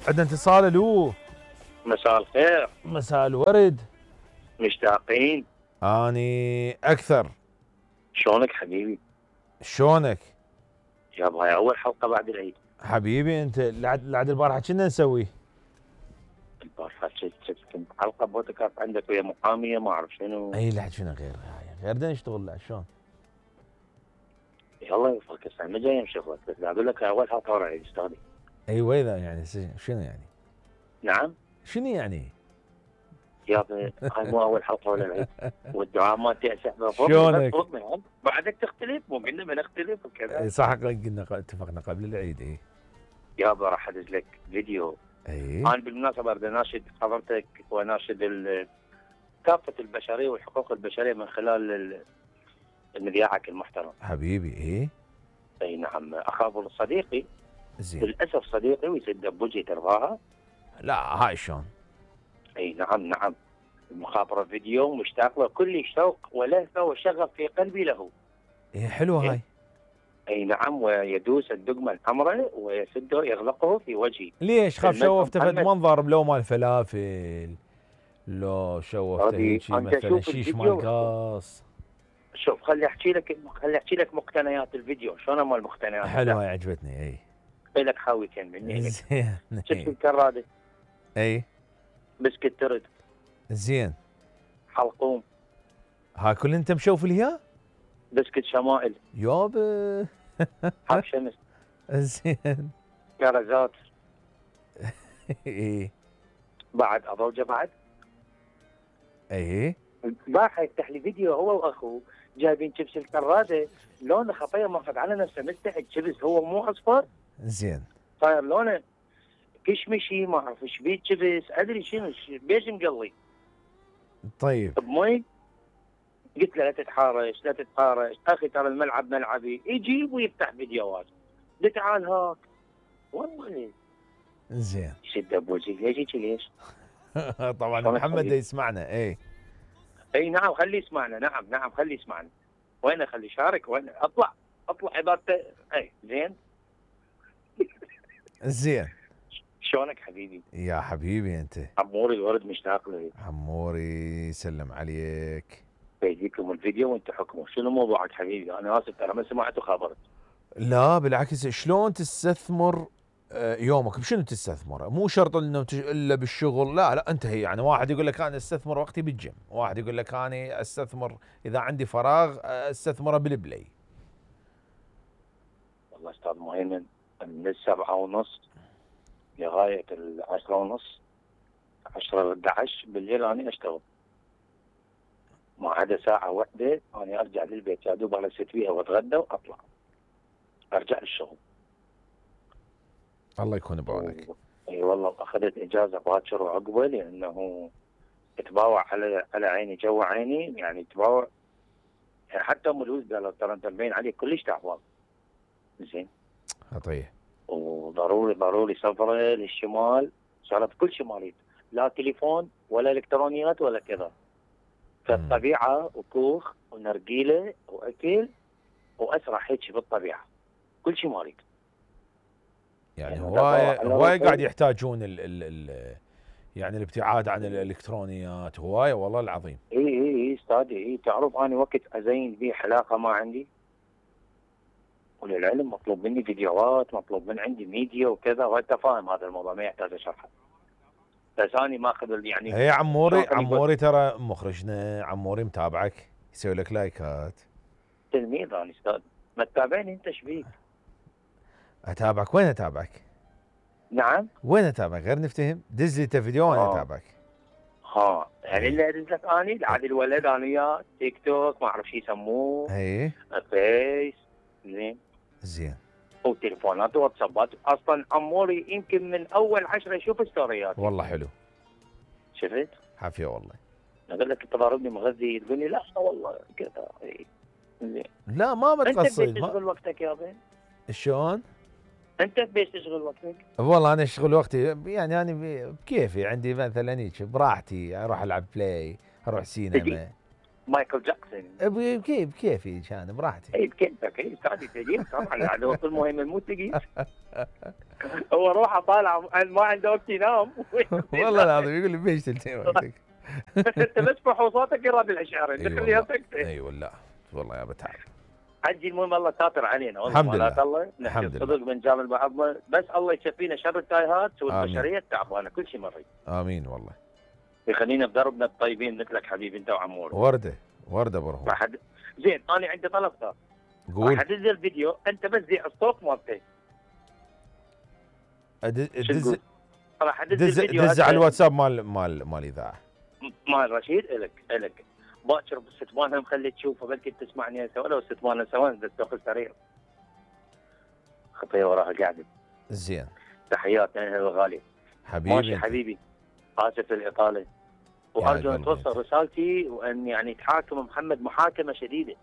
عندنا اتصال. الو، مساء الخير. مساء الورد. مشتاقين. اني اكثر. شلونك حبيبي؟ شلونك؟ يابا هاي اول حلقه بعد العيد. حبيبي انت لعد البارحه كنا نسوي؟ البارحه كنت حلقه بودكاست عندك ويا محاميه ما اعرف شنو. اي لحد شنو غير بدنا نشتغل. لا شلون؟ يلا يوفقك هسه ما جاي شغلك، بس اقول لك اول حلقه ورا العيد اشتغلي. ايوه اذا يعني شنو يعني؟ نعم؟ شنو يعني؟ يابا هاي مو اول حلقه ولا العيد والدعاء ما تأسف. شلونك؟ بعدك تختلف، مو قلنا ما نختلف وكذا. صح قلنا اتفقنا قبل العيد. اي يابا راح ادز لك فيديو. انا بالمناسبه اريد اناشد حضرتك واناشد كافه البشريه والحقوق البشريه من خلال مذياعك المحترم. حبيبي. اي نعم. اخاف صديقي زين للاسف صديقي ويسد بوجهي ترضاها. لا هاي شلون؟ اي نعم. المخابره فيديو مشتاق له كل شوق ولهفه وشغف في قلبي له. حلو هاي. اي نعم. ويدوس الدقمه الحمراء ويسده يغلقه في وجهي. ليش خاف شوفته فد منظر لو مال فلافل، لو شوفته هيك مثلا شيش مال قاص؟ شوف خلي احكي لك مقتنيات الفيديو. شلون مال المقتنيات؟ حلوه هاي عجبتني. اي لك حاويتين مني. زين. شفت الكراده؟ اي بسكت ترد. زين. حلقوم. ها كل انت مشوف ليها؟ بسكت شمائل. يابا. حب شمس. زين. كرزات. اي بعد اضوجه بعد. اي البارحه يفتح لي فيديو هو واخوه جايبين شيبس الكراده لونه خطيه ماخذ على نفسه مستحق شيبس هو مو اصفر. زين. صاير لونه كشمشي ما اعرف ايش بيه شيبس ادري شنو بيش مقلي. طيب بمي قلت له لا تتحارش اخي ترى الملعب ملعبي. يجيب ويفتح فيديوهات. قلت تعال هاك والله. زين. شد بوجهي ليش؟ طبعا محمد يسمعنا. اي نعم خليه يسمعنا. نعم خليه يسمعنا. وين خليه يشارك؟ وين اطلع عبارته. اي زين. شلونك حبيبي؟ يا حبيبي انت. عموري الورد مشتاق له. عموري يسلم عليك. بيجيكم الفيديو وانت حكموا. شنو موضوعك حبيبي؟ انا اسف ترى ما سمعت وخبرت. لا بالعكس، شلون تستثمر يومك؟ بشنو تستثمر؟ مو شرط انه الا بالشغل. لا انت هي يعني واحد يقول لك انا استثمر وقتي بالجيم، واحد يقول لك انا استثمر اذا عندي فراغ استثمره بالبلاي. والله استاذ مهيمن من 7:30 لغايه 10:30 10 11 بالليل انا اشتغل. ما عدا ساعه واحده انا ارجع للبيت يا دوب الست فيها واتغدى واطلع ارجع للشغل. الله يكون بعونك. اي والله اخذت اجازه باكر وعقبه لانه تباوع على عيني جو عيني يعني تباوع. يعني حتى ام الولد قالوا ترى انت مبين عليك كلش تعبان. زين. طيب. وضروري سفره للشمال. صارت كل شماليت لا تليفون ولا الكترونيات ولا كذا. فالطبيعه وكوخ ونرجيله واكل واسرع هيك بالطبيعه. كل شيء مالك. يعني هواي قاعد يحتاجون يعني الابتعاد عن الالكترونيات هواي والله العظيم. اي استاذي. تعرف انا وقت ازين بيه حلاقه ما عندي. وللعلم مطلوب مني فيديوهات، مطلوب من عندي ميديا وكذا، وانت فاهم هذا الموضوع ما يحتاج شرح. بس انا ماخذ يعني. هي عموري ترى مخرجنا عموري متابعك يسوي لك لايكات. تلميذ انا استاذ. ما تتابعني انت ايش بيك؟ اتابعك. وين اتابعك؟ نعم وين اتابعك؟ غير نفتهم. دز لي فيديو وانا اتابعك. يعني اللي ادز لك اني عاد الولد انا وياه تيك توك ما اعرف شو يسموه. فيس. زين. وتليفونات وواتسابات. اصلا عموري يمكن من اول 10 يشوف ستوريات. والله حلو. شفت؟ حافيه والله. اقول لك تضاربني مغذي تقول لي لا والله كذا. زين. لا ما بتقصد. انت بتشغل وقتك يا بين. شلون؟ انت بيش تشغل وقتك؟ والله انا اشغل وقتي يعني انا بكيفي. عندي مثلا هيك براحتي اروح العب بلاي، اروح سينما. مايكل جاكسون. بكيفي كان براحتي. اي بكيفك. اي استاذي تجيب طبعا الوقت المهم مو تجيب. هو روحه طالع ما عنده وقت ينام. والله العظيم يقول لي بيش تلتين وقتك. انت بس فحوصاتك يراد الاشعار اي خليها والله سكته. اي والله والله يا بتعب. عجي المهم الله ساتر علينا والله. الحمد لله. الله نحكي الحمد الصدق بنجامل بعضنا، بس الله يشفينا شر التايهات والبشريه التعبانه كل شيء مريض. امين والله. يخلينا بدربنا الطيبين مثلك حبيبي انت وعمور. ورده برهو. زين انا عندي طلب ثاني. قول. راح ادز الفيديو انت بس ذيع الصوت مالته. راح ادز الفيديو. دز على الواتساب مال الاذاعه. مال رشيد الك باكر بالستمانه مخلي تشوفه بلكي تسمعني هسه ولو ستمانه ثواني بالسوق السريع. خطيه وراها قاعده. زين. تحياتنا اهل الغالي. حبيبي. ماشي حبيبي. اسف الاطاله. وارجو ان توصل رسالتي وان يعني تحاكم محمد محاكمه شديده.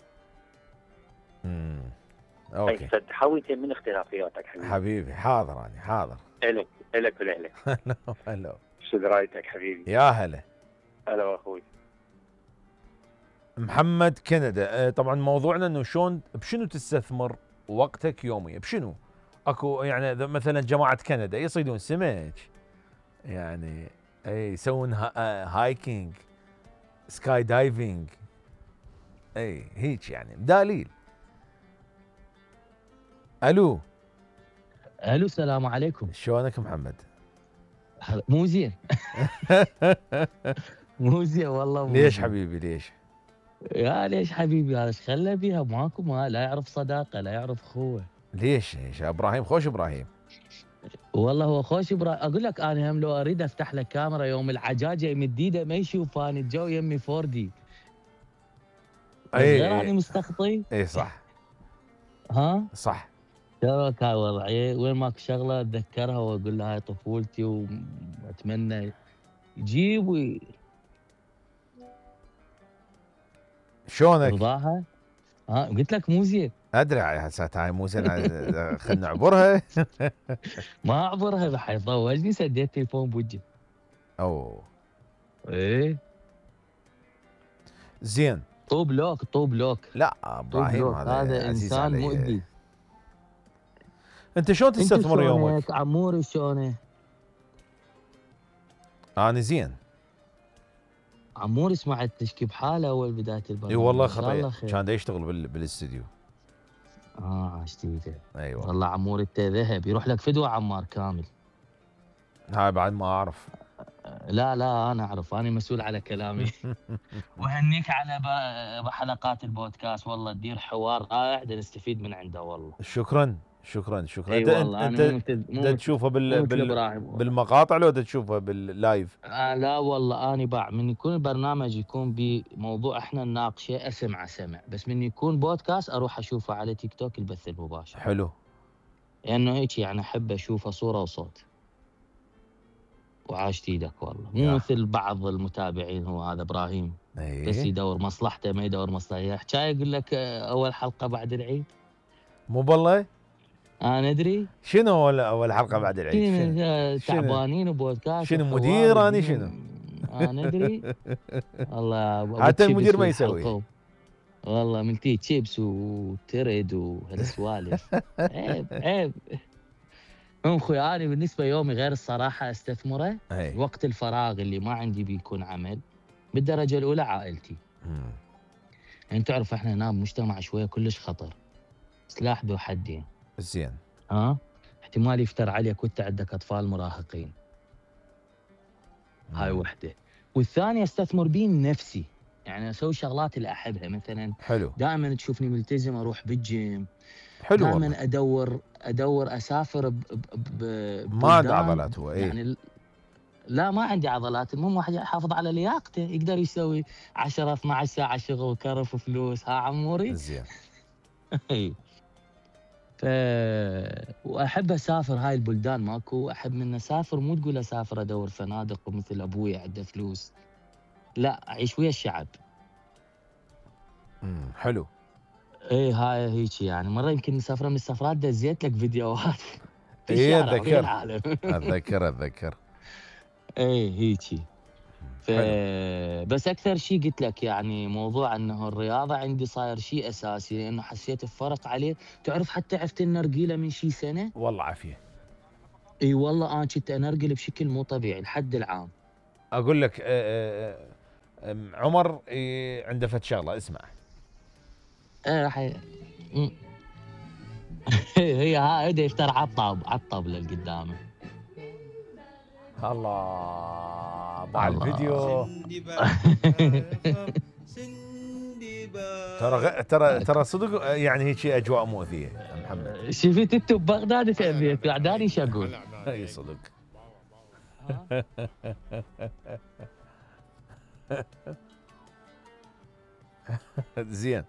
اوكي. تحاول من اختلافياتك حبيبي. حاضر انا حاضر. الك والاهلك. هلا. شو درايتك حبيبي؟ يا هلا. هلا اخوي. محمد كندا. طبعا موضوعنا انه شلون بشنو تستثمر وقتك يوميا؟ بشنو؟ اكو يعني مثلا جماعه كندا يصيدون سمك، يعني اي يسوون هايكينج، سكاي دايفنج، اي هيك يعني دليل. الو السلام عليكم. شلونك محمد؟ مو زين. مو زين والله. ليش حبيبي ليش؟ يا ليش حبيبي هذا ايش خلى بيها ماكو لا يعرف صداقه لا يعرف اخوه. ليش ابراهيم خوش ابراهيم؟ والله هو خوش ابراهيم. اقول لك انا هم لو اريد افتح له كاميرا يوم العجاجه يمديده ما يشوفاني الجو يمي 4 دي. غير اني مستخطي. اي صح. ها؟ صح. شلونك هاي وضعي؟ وين ماك شغله اتذكرها واقول لها هاي طفولتي واتمنى يجيب شلونك؟ رضاها؟ قلت لك مو زين. ادري هسه هاي مو زين. خلنا نعبرها. ما اعبرها حيطوجني سديت تليفون بوجهي. اوه. ايه زين. طوب لوك. لا ابراهيم هذا انسان مؤذي. انت شلون تستثمر يومك؟ عموري شلونه؟ انا زين. عموري سمعت تشكي بحاله اول بدايه البرنامج. اي والله خطير. كان يشتغل بالاستديو. عشتيته. ايوه والله عموري انت ذهب يروح لك فدوه عمار كامل. هاي بعد ما اعرف. لا انا اعرف، انا مسؤول على كلامي. وهنيك على حلقات البودكاست والله تدير حوار رائع نستفيد من عنده والله. شكرا. اي والله انت تشوفه بالمقاطع لو تشوفه باللايف؟ لا والله انا من يكون البرنامج يكون بموضوع احنا نناقشه اسمع بس من يكون بودكاست اروح اشوفه على تيك توك البث المباشر. حلو. لانه هيك يعني احب اشوفه صوره وصوت. وعاشت ايدك والله مو مثل بعض المتابعين. هو هذا ابراهيم بس يدور مصلحته ما يدور مصلحته. حكايه يقول لك اول حلقه بعد العيد. مو بالله انا ادري. شنو اول حلقه بعد العيد؟ تعبانين وبودكاست. شنو مدير انا شنو؟ انا ادري. والله حتى المدير ما يسوي. والله ملتي تشيبس وترد وهالسوالف. عيب. اخوي انا بالنسبه يومي غير الصراحه استثمره. وقت الفراغ اللي ما عندي بيكون عمل بالدرجه الاولى عائلتي. يعني تعرف احنا هنا بمجتمع شويه كلش خطر، سلاح ذو حدين. زين. احتمال يفتر عليك وانت عندك اطفال مراهقين. هاي وحده. والثانيه استثمر بين نفسي، يعني اسوي شغلات اللي احبها. مثلا حلو. دائما تشوفني ملتزم اروح بالجيم. حلو. دائما ادور اسافر ما عنده عضلات هو. يعني لا ما عندي عضلات. المهم واحد يحافظ على لياقته يقدر يسوي 10 12 ساعه شغل كرف وفلوس. عموري زين. واحب اسافر هاي البلدان. ماكو احب من اسافر. مو تقول اسافر ادور فنادق ومثل ابوي عنده فلوس، لا اعيش ويا الشعب. حلو. هاي هيك يعني. مره يمكن مسافره من السفرات دزيت لك فيديوهات. اتذكر. هيك. بس اكثر شيء قلت لك يعني موضوع انه الرياضه عندي صاير شيء اساسي، لانه حسيت بفرق عليه. تعرف حتى عفت النرجيله من شي سنه. والله عافيه. اي والله انا كنت انرجل بشكل مو طبيعي لحد العام. اقول لك عمر عنده فد شغله اسمع. راح هي هاي يفتر على الطاوله اللي قدامه. الله بعد الفيديو. ترى صدق يعني هيك اجواء مؤذيه محمد. شفت انت ببغداد تبيت قعداني ايش اقول؟ اي صدق. زين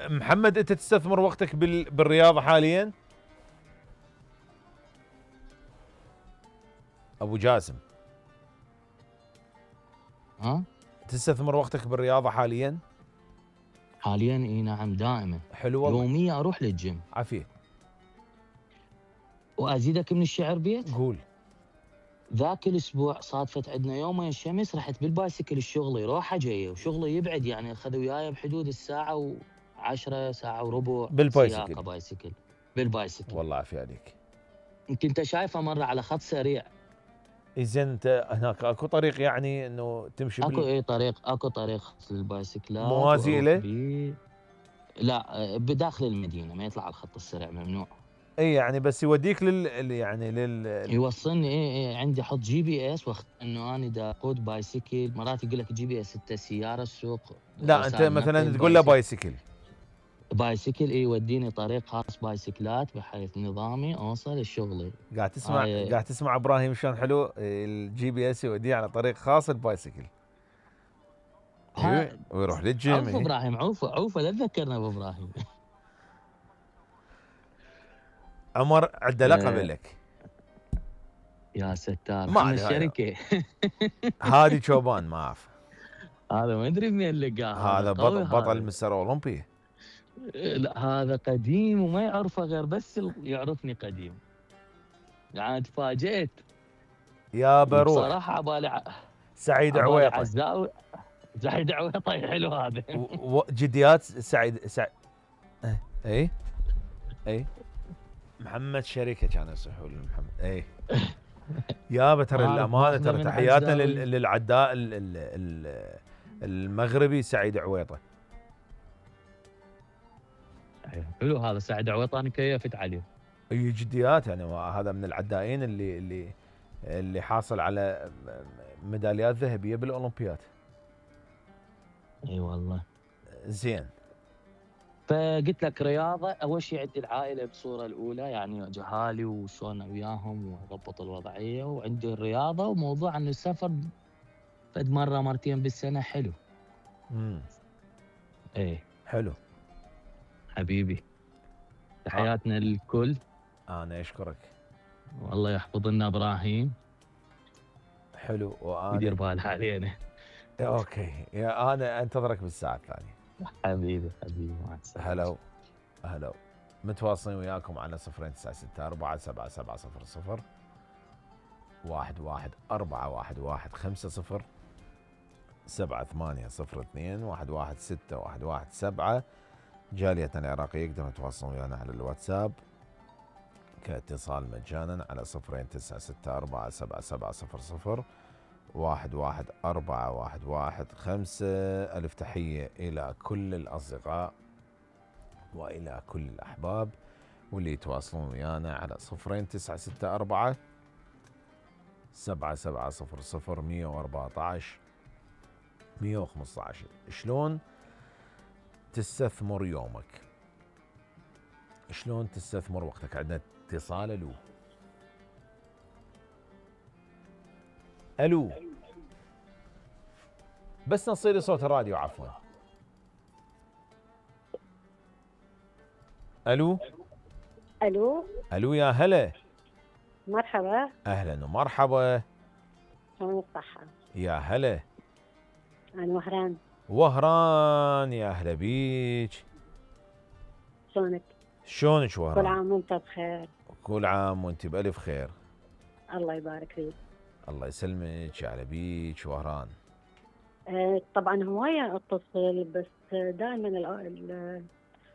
محمد، انت تستثمر وقتك بالرياضه حاليا؟ ابو جاسم ها؟ تستثمر وقتك بالرياضه حاليا؟ حاليا اي نعم دائما. حلو والله. يوميا اروح للجيم. عافيه. وازيدك من الشعر بيت؟ قول. ذاك الاسبوع صادفت عندنا يومين الشمس، رحت بالبايسكل الشغلي روحه جايه، وشغلي يبعد يعني اخذوا وياي بحدود الساعه و10 ساعه وربع بالبايسكل. سياقه بايسكل. بالبايسكل. والله عافيه عليك. يمكن انت شايفه مره على خط سريع. زين انت هناك اكو طريق يعني انه تمشي اكو طريق البايسكلات موازي له؟ لا بداخل المدينه، ما يطلع على الخط السريع، ممنوع. اي يعني بس يوديك يوصلني. اي عندي احط GPS واخت انه انا دا اقود بايسكل. مرات يقول لك GPS انت سياره السوق. لا انت مثلا تقول له بايسكل. بايسكل يوديني طريق خاص بايسكلات بحيث نظامي اوصل لشغلي. قاعد تسمع ابراهيم شلون حلو الGPS يوديه على طريق خاص البايسكل. ويروح للجيم. عوف ابراهيم، عوف لا تذكرنا بابراهيم. عمر عنده لقب لك. يا ستار من الشركه. هادي شوبان ما اعرف. هذا ما ادري منين لقاه. هذا بطل مستر اولمبي. لا هذا قديم وما يعرفه غير بس يعرفني قديم. يعني تفاجئت يا بروح صراحه عبالي سعيد عويطه. عزاوي. سعيد عويطه حلو هذا. جديات سعيد اي محمد شريكه كان يصيحوا محمد. اي يا ترى الامانه ترى تحياتنا للعداء المغربي سعيد عويطه. حلو هذا سعيد عويطه، انا كيفت عليه. اي جديات يعني هذا من العدائين اللي حاصل على ميداليات ذهبيه بالاولمبياد. اي والله. زين. فقلت لك رياضه اول شيء عندي العائله بصوره الاولى، يعني جهالي وشلون وياهم واضبط الوضعيه، وعندي الرياضه وموضوع انه السفر فد مره مرتين بالسنه حلو. ايه حلو حبيبي. تحياتنا للكل. انا اشكرك. والله يحفظ لنا ابراهيم. حلو. وانا يدير باله علينا. اوكي يا انا انتظرك بالساعه الثانيه. حبيبي مع السلامه. هلا متواصلين وياكم على 0964 7700 114115 7802 116117. جاليتنا العراقية يقدرون يتواصلون ويانا على الواتساب كاتصال مجانا على 0964 7700 114115. ألف تحية إلى كل الأصدقاء وإلى كل الأحباب واللي يتواصلون ويانا على 0964 7700 114 115. شلون تستثمر يومك؟ شلون تستثمر وقتك؟ عندنا اتصال. الو بس نصير صوت الراديو عفوا. الو يا هلا. مرحبا. اهلا ومرحبا. شلون الصحة؟ يا هلا. أنا وهران يا أهلا بيك. شلونك وهران؟ كل عام وانت بخير. كل عام وانت بألف خير. الله يبارك فيك. الله يسلمك يا أهلا بيك وهران. طبعا هواية اتصل بس دائما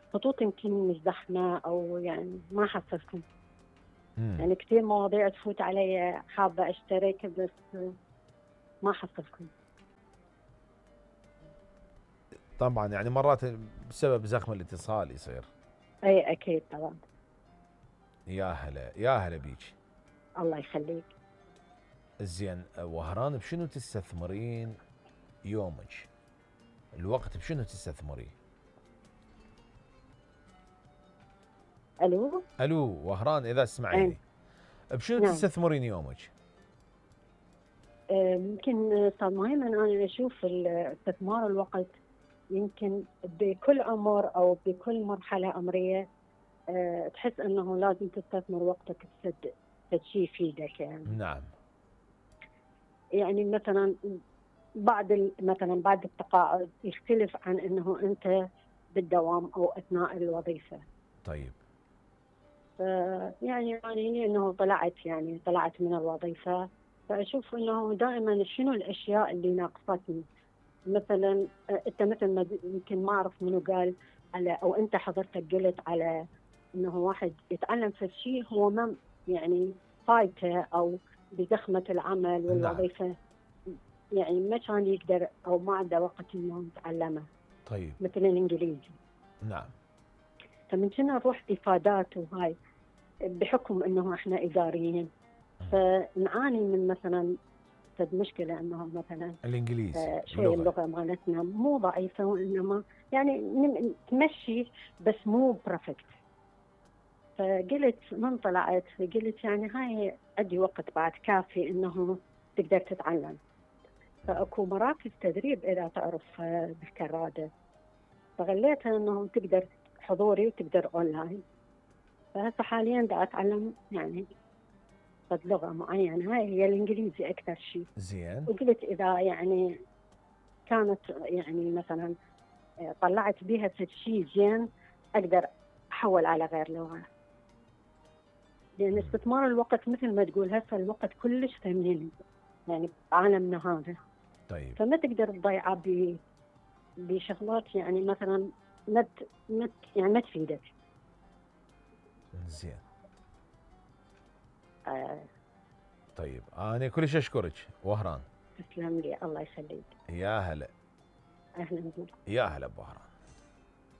الخطوط يمكن مش زحمة او يعني ما حصلكم. يعني كثير مواضيع تفوت علي حابة اشترك بس ما حصلكم. طبعا يعني مرات بسبب زخم الاتصال يصير. اي اكيد طبعا. يا هلا يا هلا بيك. الله يخليك. زين وهران، بشنو تستثمرين يومك؟ الوقت بشنو تستثمريه؟ الو وهران اذا تسمعيني، بشنو نعم. تستثمرين يومك؟ يمكن استاذ مهيمن انا اشوف استثمار الوقت يمكن بكل عمر او بكل مرحله عمريه تحس انه لازم تستثمر وقتك في شيء يفيدك يعني. نعم. يعني مثلا بعد التقاعد يختلف عن انه انت بالدوام او اثناء الوظيفه. طيب. يعني انه طلعت من الوظيفه، فاشوف انه دائما شنو الاشياء اللي ناقصتني. مثلا انت مثل ما يمكن ما اعرف منو قال على، او انت حضرتك قلت على انه واحد يتعلم في شيء هو ما يعني فايته او بزخمه العمل والوظيفه. نعم. يعني ما كان يقدر او ما عنده وقت انه يتعلمه. طيب. مثل الانجليزي. نعم. فمن كنا نروح افادات وهاي بحكم انه احنا اداريين، فنعاني من مثلا مشكله انه مثلا الانجليزي شوي اللغه مالتنا مو ضعيفه، وانما يعني تمشي بس مو برفكت. فقلت من طلعت قلت يعني هاي عندي وقت بعد كافي انه تقدر تتعلم. فاكو مراكز تدريب اذا تعرف بالكراده، فغليتها انه تقدر حضوري وتقدر اونلاين. فهسه حاليا دا اتعلم يعني لغه معينه، هاي هي الانجليزي اكثر شيء. زين. وقلت اذا يعني كانت يعني مثلا طلعت بها في شيء زين اقدر احول على غير لغه. لان استثمار الوقت مثل ما تقول هسه الوقت كلش ثمين يعني بعالمنا هذا. طيب. فما تقدر تضيعه بشغلات يعني مثلا يعني ما تفيدك. زين. طيب انا كلش اشكرك وهران. تسلم لي الله يخليك. يا هلا. اهلا بك. يا هلا بوهران.